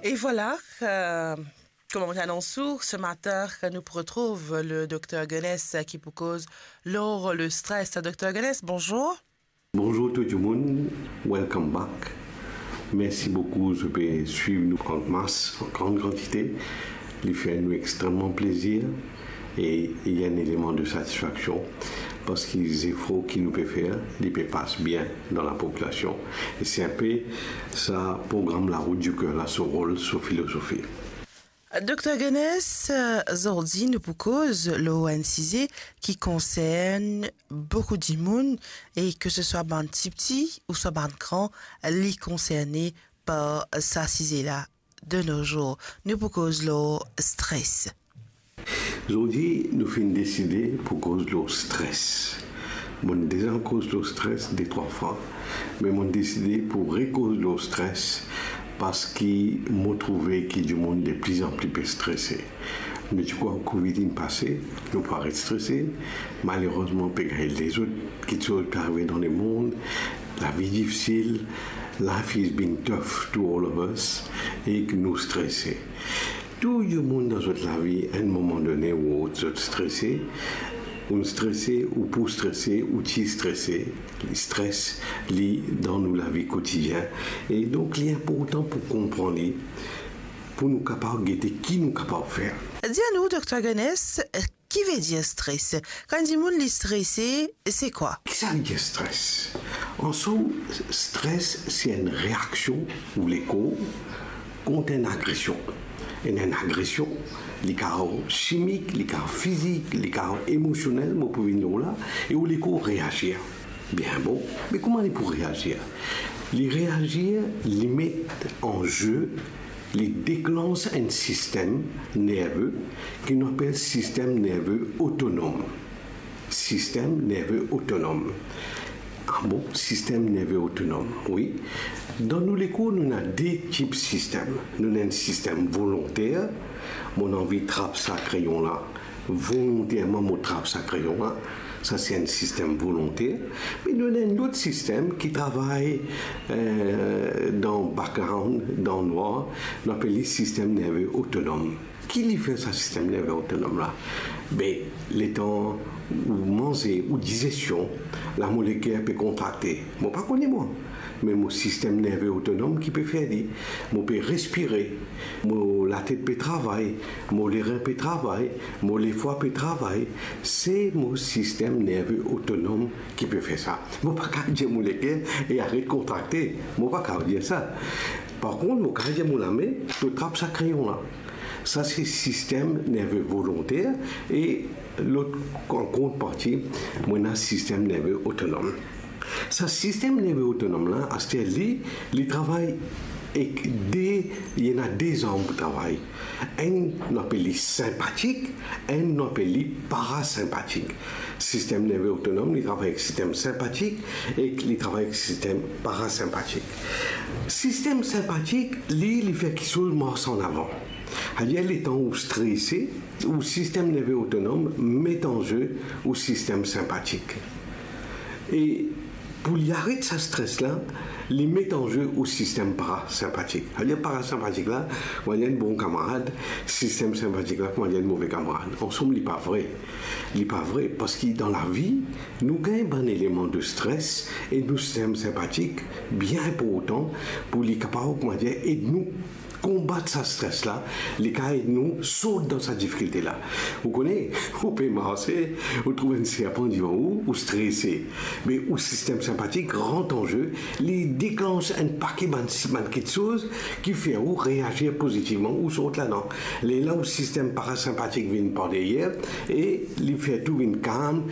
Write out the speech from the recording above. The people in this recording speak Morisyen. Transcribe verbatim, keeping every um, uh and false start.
Et voilà, euh, kouma mo ti anons ou, ce matin, nou pou retrouv le Docteur Guenesse ki pou koz lor le stress. Docteur Guenesse, bonjour. Bonjour tout dimoun, welcome back. Mersi boukou, zot pe swiv nou an mas, an gran kantite. Li fer nou extrememan plezir e li enn eleman de satisfaksion, parski zefor ki nou pe fer, li pe pas bien dan lapopilasion. E se inpe sa program La Route du Cœur la, so rol, so filozofi. Docteur Guenesse, zordi nou pou koz lor enn size ki konsern boukou dimoun, e ke se swa bann tipti ouswa bann gran, li konserne par sa size la. De nos jours, nou pou koz lor stres. Zordi nou finn deside pou koz lor stres. Mo'nn deza koz lor stres de trwa fwa, me mo'nn deside pou rekoz lor stres, parski mo trouve ki dimoun de plizanpli pe strese. Nou ti krwar covid inn pase, nou pa ret strese. Malerezman, pe gagn lezot kiksoz pe arive dan lemond, lavi difisil, life is being tough to all of us, e ki nou strese. Tou dimoun dan zot lavi, enn moman done ou lot, zot strese. Ou strese, ou pou strese, ou ti strese. Stres, li dan nou lavi kotidien. E donk, li inportan pou konpran li, pou nou kapav gete ki nou kapav fer. Dir nou, Docteur Guenesse, ki vedir stres? Kan dimoun li strese, se kwa? Ki sa vedir stres? An som, stres se enn reaksion ou lekor kont enn agresion. Enn, enn agresion, li kav simik, li kav fizik, li kav emosionel, mo pou vinn lor la, e ou lekor reazir. Bien bon, me kouma li pou reazir? Li reazir, li met an ze, li deklans enn sistem nerve ki nou apel sistem nerve otonom. Sistem nerve otonom. Ah bon, sistem nerve otonom, wi. Dan nou lekor, nou ena de tip sistem. Nou ena enn sistem volonter, mo anvi trap sa kreyon la, volonterman mo trap sa kreyon la, sa se enn sistem volonter. Me nou ena enn lot sistem ki travay, eh, dan background, dan nwar, nou apel li sistem nerve otonom. Ki li fer sa sistem nerve otonom la? Be, letan ou manze, ou dizesion, la mo leker pe kontrakte. Mo pa kone mwa, me mo sistem nerve otonom ki pe fer li. Mo pe respire, mo latet pe travay, mo lerin pe travay, mo lefwa pe travay. Se mo sistem nerve otonom ki pe fer sa. Mo pa kav dir mo leker e aret kontrakte. Mo pa kav dir sa. Par kont, mo kav dir mo lame, to trap sa kreyon la. Sa se sistem nerve volonter e lot, an kontreparti, mo ena sistem nerve otonom. Sa sistem nerve otonom la, aster li, li travay ek de, li ena de zarm pou travay. Enn, nou apel li senpatik, enn, nou apel li parasenpatik. Sistem nerve otonom, li travay ek sistem senpatik, ek li travay ek sistem parasenpatik. Sistem senpatik, li, li fer kiksoz mars an avan. Savedir, letan ou strese, ou sistem nerve otonom met an ze ou sistem senpatik. E pou li aret sa stres la, li met an ze ou sistem parasenpatik. Savedir, parasenpatik la, kouma dir enn bon kamarad, sistem senpatik la, kouma dir enn move kamarad. An som, li pa vre. Li pa vre, parski dan lavi, nou gagn bann eleman de stres e nou sistem senpatik bien inportan pou li kapav, kouma dir, ed nou konbat sa stres la, li kav ed nou sort dan sa difikilte la. Ou kone, ou pe marse, ou trouv enn serpan divan ou, ou strese. Me ou sistem senpatik rant an ze, li deklans enn pake bann, bann kiksoz ki fer ou reazir pozitivman, ou sort ladan. Lerla ou sistem parasenpatik vinn par deryer e li fer tou vinn kalm,